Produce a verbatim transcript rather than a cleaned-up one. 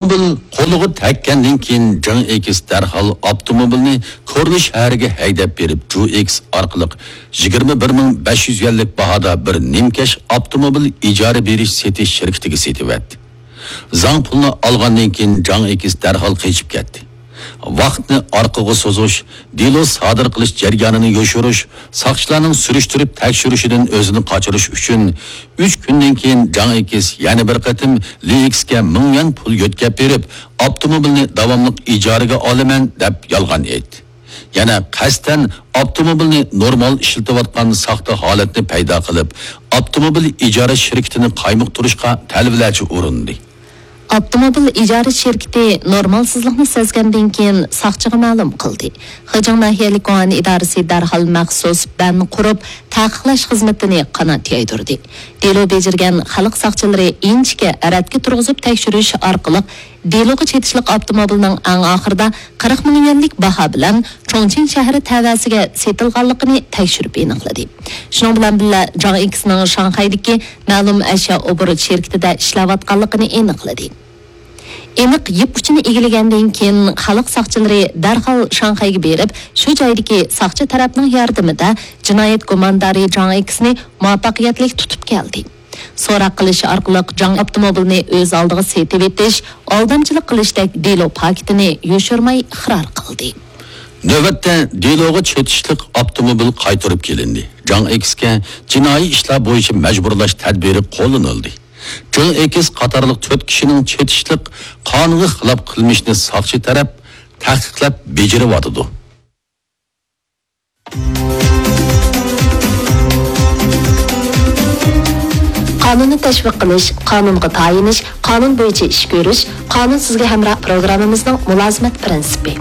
ئاپتوموبىل قولىغا تەگكەندىن كېيىن، جاڭ ئېكس دەرھال ئاپتوموبىلنى كورلا شەھىرىگە ھەيدەپ بېرىپ، جۇ ئېكس ئارقىلىق يىگىرمە بىر مىڭ بەش يۈز يۈەنلىك باھادا بىر نىمكەش ئاپتوموبىل ئىجارە بېرىش سېتىش شىركىتىگە سېتىۋەتتى. زاڭ پۇلنى ئالغاندىن كېيىن، جاڭ ئېكس دەرھال قېچىپ كەتتى. ۋاقىتنى ئارقىغا سوزۇش، دېلو سادىر قىلىش جەريانىنى يوشۇرۇش، ساقچىلارنىڭ سۈرۈشتۈرۈپ تەكشۈرۈشىدىن ئۆزىنى قاچۇرۇش ئۈچۈن، ئۈچ كۈندىن كېيىن جاڭ ئېكس يەنە بىر قېتىم لى ئېكسكە مىڭ يۈەن پۇل يۆتكەپ بېرىپ، ئاپتوموبىلنى داۋاملىق ئىجارىگە ئالىمەن، دەپ يالغان ئېيتتى. يەنە قەستەن ئاپتوموبىلنى نورمال ئىشلىتىۋاتقان ساختا ھالەتنى پەيدا قىلىپ، ئاپتوموبىل ئىجارە شىركىتىنى قايمۇقتۇرۇشقا تەلۋىلەرچە ئۇرۇندى. ئاپتوموبىل ئىجارە شىركىتى نورمالسىزلىقنى سەزگەندىن كېيىن، ساقچىغا مەلۇم قىلدى. خېجىڭ ناھىيەلىك گۇڭئەن ئىدارىسى دەرھال مەخسۇس بەن قۇرۇپ، تەقىقلەش خىزمىتىنى قانات يايدۇردى. دېلو بېجىرگەن خەلق ساقچىلىرى ئىنچىكە رەتكە تۇرغۇزۇپ تەكشۈرۈش ئارقىلىق، دېلوغا چېتىشلىق ئاپتوموبىلنىڭ ئەڭ ئاخىرىدا قىرىق مىڭ يۈەنلىك باھا بىلەن چۇڭچىڭ شەھىرى تەۋەسىگە سېتىلغانلىقىنى تەكشۈرۈپ ئېنىقلىدى. شۇنىڭ بىلەن بىللە، جاڭ ئېكسنىڭ شاڭخەيدىكى مەلۇم ئەشيا ئوبوروت شىركىتىدە ئىشلەۋاتقانلىقىنى ئېنىقلىدى. ئېنىق يىپ ئۇچىنى ئىگىلىگەندىن كېيىن، خەلق ساقچىلىرى دەرھال شاڭخەيگە بېرىپ، شۇ جايدىكى ساقچى تەرەپنىڭ ياردىمىدە جىنايەت گۇماندارى جاڭ ئېكسنى مۇۋەپپەقىيەتلىك تۇتۇپ كەلدى. سوراق قىلىش ئارقىلىق جاڭ ئاپتوموبىلىنى ئۆز ئالدىغا سېتىۋېتىش، ئالدامچىلىق قىلىشتەك دېلو پاكىتىنى يوشۇرماي ئىقرار قىلدى. نۆۋەتتە دېلوغا چېتىشلىق ئاپتوموبىل قايتۇرۇپ كېلىندى. جاڭ ئېكسكە جىنايى ئىشلار بويىچە مەجبۇرلاش تەدبىرى قوللىنىلدى. جاڭ ئېكس قاتارلىق تۆت كىشىنىڭ چېتىشلىق قانۇنغا خىلاپ قىلمىشىنى ساقچى تەرەپ تەھقىقلەپ بېجىرىۋاتىدۇ. قانۇننى تەشۋىق قىلىش، قانۇنغا تايىنىش، قانۇن بويىچە ئىش كۆرۈش، قانۇن سىزگە ھەمراھ پروگراممىمىزنىڭ مۇلازىمەت پىرىنسىپى.